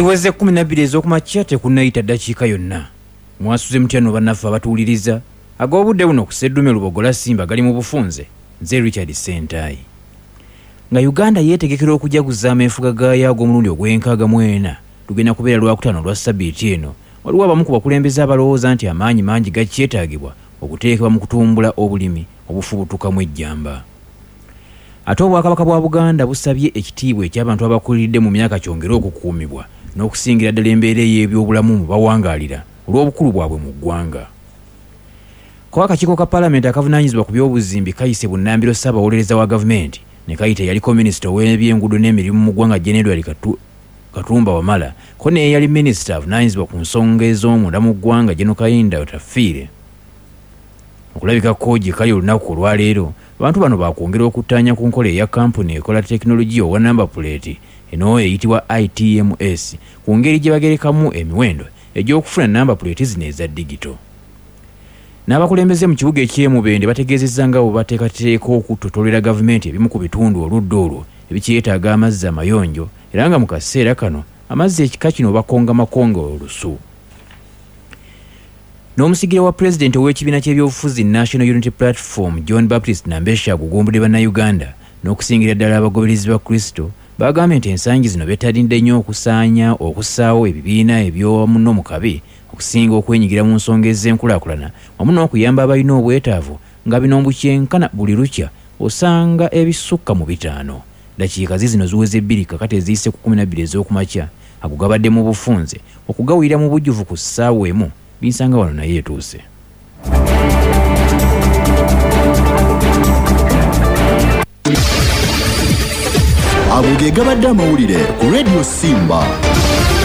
Ziweze 12 ez'okumakya, tekunnayita ddakiika yonna. Mwasuze mutya no bannaffe abatuwuliriza? Ag'obudde buno ku Sseddume Lubogola Simba gali mu bufunze. Nze Richard Ssentayi. Nga Uganda yeetegekera okujaguza ameefuga gaayo ag'omulundi ogw'enkaaga mu ena, lugenda kubeera Lwakutaano lwa sabbiiti eno, waliwo abamu ku bakulembeze abalowooza nti amaanyi mangi gakyetaagibwa okuteekebwa mu kutumbula obulimi obufubutukamu ejjamba. Ate Obwakabaka bwa Buganda busabye ekitiibwa eky'abantu abakuliridde mu myaka kyongere okukuumibwa, n'okusingira ddala embeera ey'ebyobulamu mu bawangaalira, olw'obukulu bwabwe mu ggwanga. Ko akakiiko ka Paalamenti akavunaanyizibwa ku by'obuzimbi kayise bunnambiro Ssaabawolereza wa gavumenti, ne kayita eyaliko minisita ow'ebyenguudo n'emirimu mu ggwanga Gen Edward Katumba Wamala, ko n'eyali minisita avunaanyizibwa ku nsonga ez'omunda mu ggwanga Gen Kahinda Otafiire, okulabikako gye kali olunaku olwaleero. Abantu bano bakwongera okuttaanya ku nkola eya kampuni ekola tekinologiya owa namba puleeti eno eyitibwa ITMS ku ngeri gye bagerekamu emiwendo egy'okufuna namba puleeti zino eza digito. N'abakulembeze mu kibuga eky'e Mubende bategeezezza nga bwe bateekateeka okutotolera gavumenti ebimu ku bitundu oludda olwo ebikyetaaga amazzi amayonjo, era nga mu kaseera kano amazzi ekika kino bakonga makonga olusu. N'omusigire wa pulezidenti ow'ekibiina ky'ebyobufuzi National Unity Platform, John Baptist Nambesha, agugumbudde Bannayuganda n'okusingira ddala abagoberezi ba Kristo, bagambye nti ensangi zino bettanidde nnyo okusaanya okussaawo ebibiina ebyomuno mu kabi okusinga okwenyigira mu nsonga ez'enkulaakulana wamu n'okuyamba abalina obwetaavu, nga bino mbu kyenkana buli lukya osanga ebisukka mu 5. Dakiika zizino ziweze 2 kakati eziyise ku 12 ez'okumakya. Ago gabadde mu bufunze. Okugawulira mu bujjuvu ku ssaawa 1, binsanga wano naye etuuse. Ago ge gabadde amawulire ku Radio Simba.